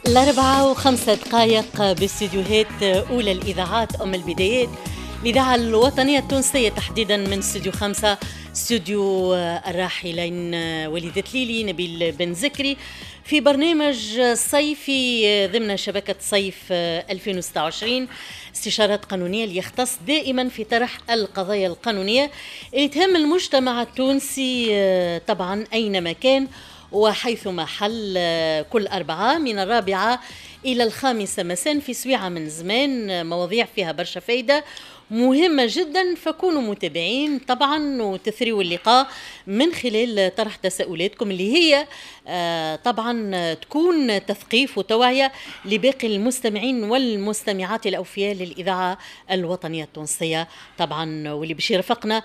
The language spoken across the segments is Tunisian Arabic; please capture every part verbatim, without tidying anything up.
الأربعة وخمسة دقائق باستديوهات أولى الإذاعات أم البدايات، الإذاعة الوطنية التونسية، تحديدا من استوديو خمسة، استوديو الراحلين وليد تليلي، نبيل بن زكري، في برنامج صيفي ضمن شبكة صيف ألفين وستة وعشرين، استشارات قانونية اللي يختص دائما في طرح القضايا القانونية اللي تهم المجتمع التونسي طبعا أينما كان وحيثما حل، كل أربعة من الرابعة إلى الخامسة مساء في سويعة من زمان، مواضيع فيها برشا فايدة مهمة جدا، فكونوا متابعين طبعا وتثريوا اللقاء من خلال طرح تساؤلاتكم اللي هي طبعا تكون تثقيف وتوعية لباقي المستمعين والمستمعات الأوفياء للإذاعة الوطنية التونسية طبعا. واللي باش يرافقنا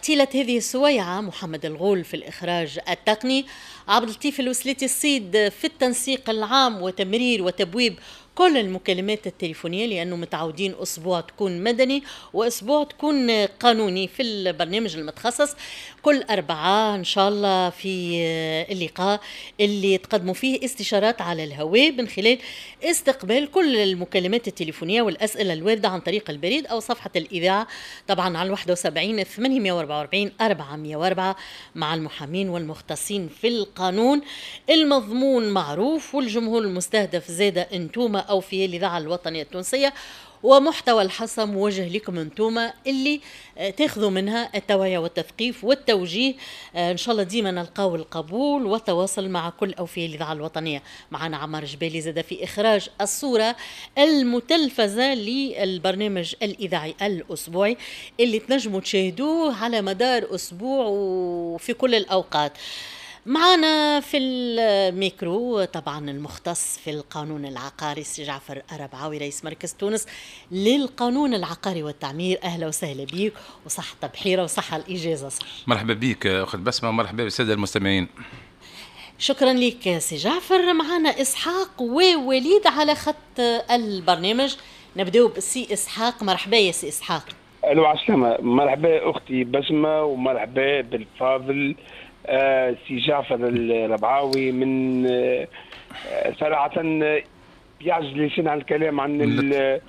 طيلة هذه السويعة محمد الغول في الإخراج التقني، عبد اللطيف الوسليتي الصيد في التنسيق العام وتمرير وتبويب كل المكالمات التليفونية، لأنه متعودين أسبوع تكون مدني وأسبوع تكون قانوني في البرنامج المتخصص، كل أربعة إن شاء الله في اللقاء اللي تقدموا فيه استشارات على الهواء من خلال استقبال كل المكالمات التليفونية والأسئلة الواردة عن طريق البريد أو صفحة الإذاعة طبعا على واحد وسبعين ثمانمائة وأربعة وأربعين أربعمائة وأربعة مع المحامين والمختصين في القانون. المضمون معروف والجمهور المستهدف زاد انتوما أو في الإذاعة الوطنية التونسية، ومحتوى الحصة موجه لكم انتوما اللي تاخذوا منها التوعية والتثقيف والتوجيه. ان شاء الله ديما نلقاو القبول والتواصل مع كل أوفياء الإذاعة الوطنية. معنا عمار جبالي زاد في إخراج الصورة المتلفزة للبرنامج الإذاعي الأسبوعي اللي تنجموا تشاهدوه على مدار أسبوع وفي كل الأوقات. معنا في الميكرو طبعا المختص في القانون العقاري سي جعفر الربعاوي، رئيس مركز تونس للقانون العقاري والتعمير. اهلا وسهلا بيك وصحة بحيرة وصحة الإجازة. صح، مرحبا بك أخت بسمة ومرحبا بالسادة المستمعين. شكرا لك سي جعفر. معنا إسحاق ووليد على خط البرنامج. نبداو بسي إسحاق. مرحبا يا سي إسحاق. الو عسلامة، مرحبا أختي بسمة ومرحبا بالفاضل آه سي جعفر الربعاوي. من آه صراحة يعجز لسان عن الكلام عن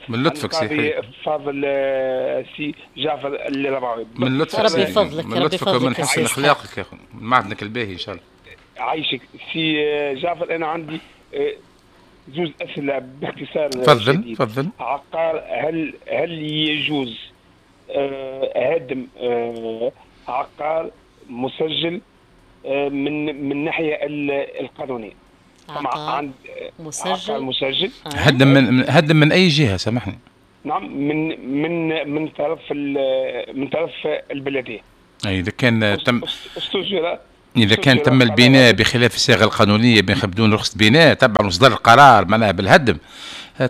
من لطفك سي فاضل آه سي جعفر الربعاوي. من لطفك، ربي يفضلك، من لطفك ومن حسن اخلاقك يا اخو، من معدنك الباهي ان شاء الله. عايشك سي جعفر. انا عندي آه زوز اسئلة باختصار. تفضل تفضل. عقار، هل هل يجوز آه هدم آه عقار مسجل من من الناحية القانونية؟ طبعا عند مسجل مسجل هدم من هدم من اي جهة سامحني؟ نعم، من من من طرف من طرف البلدية. اي اذا كان تم استجر اذا كان تم البناء بخلاف الصيغة القانونية بدون رخصه بناء طبعا وصدر القرار معناها بالهدم،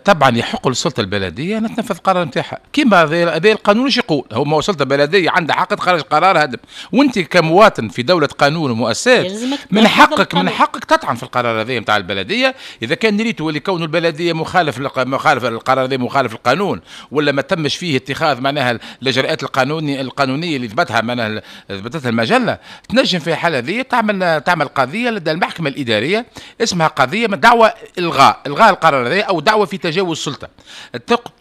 طبعا يحق للسلطة البلدية ان تنفذ القرار نتاعها كيما هذا القانون ايش يقول. هو ما السلطة البلدية عندها حق تخرج قرار هدم، وانت كمواطن في دولة قانون ومؤسسات من حقك من حقك تطعن في القرار هذا نتاع البلدية اذا كان ريتو اللي كون البلدية مخالف مخالف القرار هذا مخالف القانون، ولا ما تمش فيه اتخاذ معناها الاجراءات القانونية القانونية اللي ثبتها معناها ثبتتها المجلة. تنجم في الحالة هذه تعمل تعمل قضية لدى المحكمة الادارية اسمها قضية من دعوه الغاء الغاء القرار هذا او دعوه في تجاوز السلطة.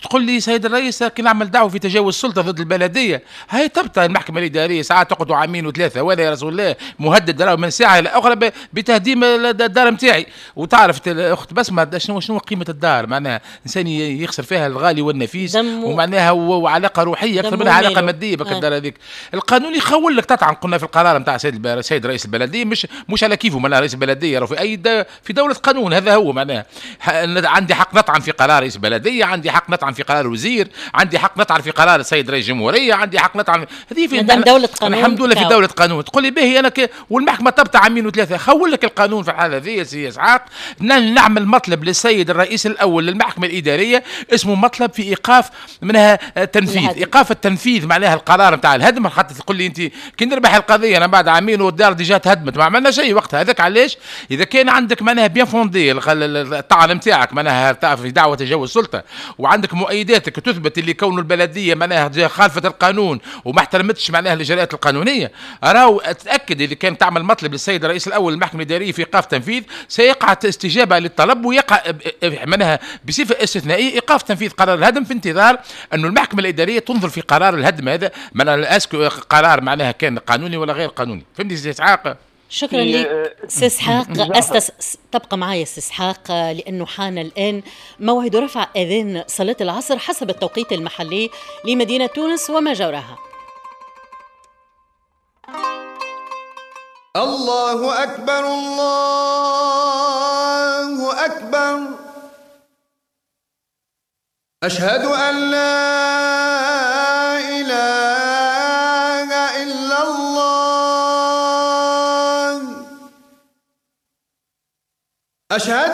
تقول لي سيد الرئيس كي نعمل دعوه في تجاوز السلطة ضد البلدية، هاي تبطل المحكمة الادارية ساعات تقعدوا عامين وثلاثة، ولا يا رسول الله مهدد راهو من ساعة الى اخرى بتهديم الدار نتاعي. وتعرف اخت بسمه شنو شنو قيمة الدار، معناها انسان يخسر فيها الغالي والنفيس، ومعناها وعلاقة روحية اكثر منها علاقة مادية بك الدار هذيك. القانون يخول لك تطعن، قلنا في القرار نتاع سيد سيد رئيس البلدية، مش مش على كيفه معناها رئيس البلدية راه في اي في دولة قانون هذا هو معناها عندي حق نطعن في قرار رئيس بلديه، عندي حق نطعن في قرار وزير، عندي حق نطعن في قرار السيد رئيس الجمهورية، عندي حق نطعن هذه في دولة قانون. الحمد لله في دولة قانون. تقول لي باهي انا ك... والمحكمة تبطع عامين وثلاثة، خول لك القانون في الحالة هذه يا سي اسحاق. نعمل مطلب للسيد الرئيس الاول للمحكمة الادارية اسمه مطلب في ايقاف منها تنفيذ، ايقاف التنفيذ معناها القرار نتاع الهدم. خاطر تقول لي انت كي نربح القضية انا بعد عامين والدار déjà تهدمت ما عملنا شيء وقتها. هذاك علاش اذا كان عندك معناها bien fondé الطعن نتاعك معناها في دعوه تجاوز السلطة، وعندك مؤيداتك تثبت اللي كون البلدية معناها خالفت القانون وما احترمتش معناها الاجراءات القانونية، راهو تاكد اللي كان تعمل مطلب للسيد الرئيس الاول للمحكمة الادارية في ايقاف تنفيذ، سيقع استجابة للطلب ويقع معناها بصفة استثنائية ايقاف تنفيذ قرار الهدم في انتظار انه المحكمة الادارية تنظر في قرار الهدم هذا، معناها est-ce que قرار معناها كان قانوني ولا غير قانوني. فهمتني سي اسحاق؟ شكرا لك سي اسحاق. أستس... تبقى معي سي اسحاق لانه حان الان موعد رفع اذان صلاة العصر حسب التوقيت المحلي لمدينة تونس وما جاورها. الله اكبر الله اكبر، اشهد ان لا اله الا الله، أشهد